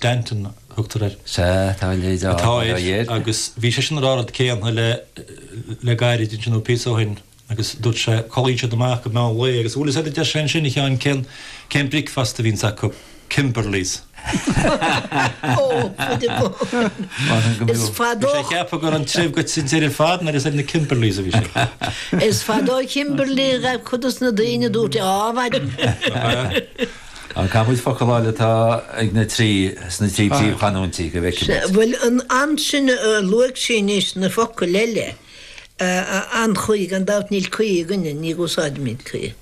Stanton a thugtar air. Sea, tá a leithéid ann, Atá air agus bhí seisean ag rá an rud céanna le le gairid ansin nó píosa ó shin agus dúirt sé, codlaíonn siad amach go meán lae agus bhfuil fhios agat a deir sé ansin a Sheáin cén cén bricfeasta a bhíonns acu? Kimberleys. Ó, fuide bó. Is fadó. Bhí sé ag ceapadh go raibh an treibh goite an deireadh ar fad nuair is ar na Kimberleys a bhí sé. Is fadó Kimberley a ghabh cuid dos na daoine a dúirt á mhaidin. Caithfidh muid focal a fháil atá ag na trí, sna trí príomhchanúintí, go bhfeicfidh muid. Bhuel, an ansin a luaigh sí anois na focail eile, an chaoi, gan dabht níl caoi againne, ní úsáidimid caoi.